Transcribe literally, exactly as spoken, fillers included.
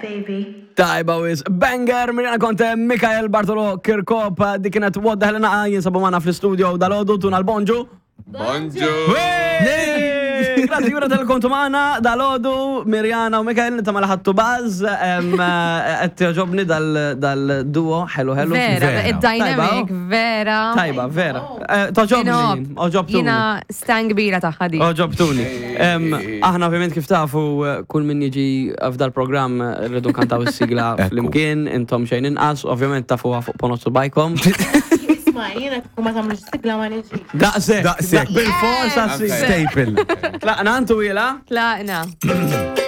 baby. Tajba wis, banger, Mirjana Conte, Mikael Bartolo Kirkop, dik kienet What the Hell Naqa jinsabu magħna fl-studio dalgħodu, tuna l-bonġu. Bonġu! Grazzi jura tal-kontu magħna dalgħodu, Mirjana u Mikael, nittama li ħadtu buzz, qed jogħġobni dal-duo, ħelu ħelu. Vera, Vera. id-dynamic, vera. Tajba, vera. Eh, Togħġobni, għoġobtuni. Jiena stan kbira tagħha di. Għoġobtuni. Em, Aħna ovvjament kif tafu eh, kull min jiġi f'dal programm eh, rridu kantaw is-sigla Ekku. flimkien, intom xejn inqas, ovvjament tafuha fuq ponot subgħajkom. Isma, jiena kieku ma tagħmlux sigla ma niġi. Daqsek. Daqsek. Bil-forsa s-sigla. Staple. Tlaqna antu ila? Tlaqna.